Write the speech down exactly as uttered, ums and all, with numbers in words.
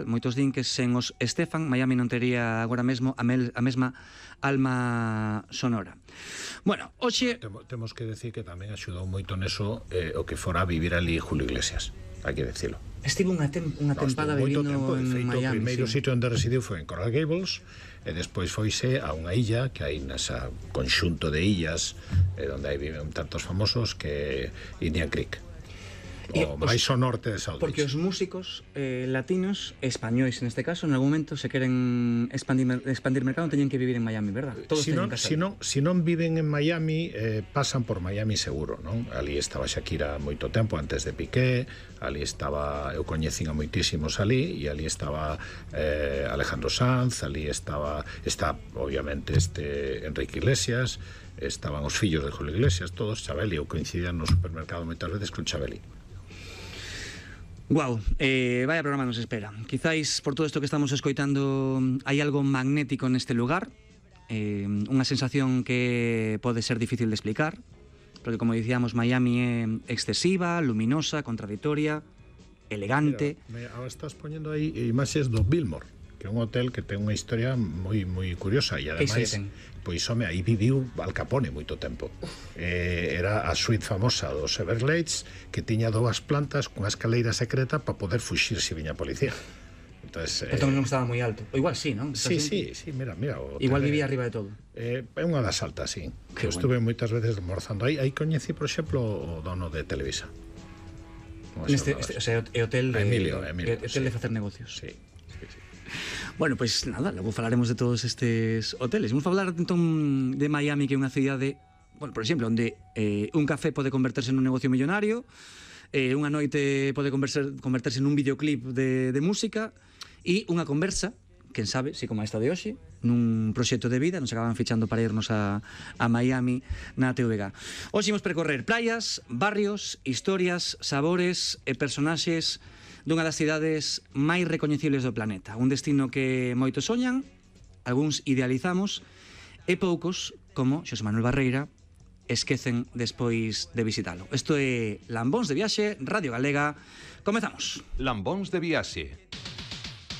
Moitos din que sen os Estefan, Miami non tería agora mesmo a, mel, a mesma alma sonora. Bueno, hoxe... Temo, temos que decir que tamén axudou moito neso eh, o que fora a vivir ali Julio Iglesias, hai que decirlo. Estivo unha, tem, unha no, tempada vivindo tempo, en feito, Miami. O primeiro sí. sitio onde residiu foi en Coral Gables e despois foise a unha illa que hai nesa conxunto de illas eh, onde hai viven tantos famosos que Indian Creek. O máis ao norte de South Beach. Porque os músicos eh, latinos, españois en este caso, en algún momento se queren expandir, expandir mercado, teñen que vivir en Miami, verdad? Todos si, non, si, non, si non viven en Miami, eh, pasan por Miami seguro, non? Ali estaba Shakira moito tempo antes de Piqué, ali estaba, eu coñecín a moitísimos ali, e ali estaba eh, Alejandro Sanz, ali estaba, está obviamente este Enrique Iglesias, estaban os fillos de Julio Iglesias, todos, Chabeli, eu coincidían no supermercado moitas veces con Chabeli. Guau, eh, vaya programa nos espera. Quizáis por todo isto que estamos escoitando hai algo magnético neste lugar, eh, unha sensación que pode ser difícil de explicar, porque como dicíamos, Miami é excesiva, luminosa, contradictoria, elegante. Mira, ahora estás poñendo aí imaxes do Biltmore, que é un hotel que ten unha historia moi moi curiosa e ademais pois home, aí viviu Al Capone moito tempo. Eh, era a suite famosa dos Everglades que tiña dúas plantas cunha escaleira secreta para poder fuxir se viña a policía. Entonces, eh, non estaba moi alto. O igual sí, non? Sí, sí, sí, mira, mira. Igual vivía arriba de todo. Eh, é unha das altas, sí. Que eu estuve bueno. moitas veces almorzando aí. Aí coñecí, por exemplo, o dono de Televisa. Neste, este, o sea, é hotel de, Emilio, Emilio, hotel sí. de facer negocios. Sí, sí, sí. Bueno, pois pues, nada, logo falaremos de todos estes hoteles. Vamos a falar entón de Miami, que é unha cidade, bueno, por exemplo, onde eh, un café pode converterse nun negocio millonario, eh, unha noite pode converser, converterse nun videoclip de, de música, e unha conversa, quen sabe, si como esta de hoxe, nun proxecto de vida, nos acaban fichando para irnos a, a Miami na T V G. Hoxe imos percorrer playas, barrios, historias, sabores e personaxes dunha das cidades máis recoñecibles do planeta. Un destino que moitos soñan, algúns idealizamos, e poucos, como Xosé Manuel Barreira, esquecen despois de visitalo. Isto é Lambóns de Viaxe, Radio Galega. Comezamos. Lambóns de Viaxe.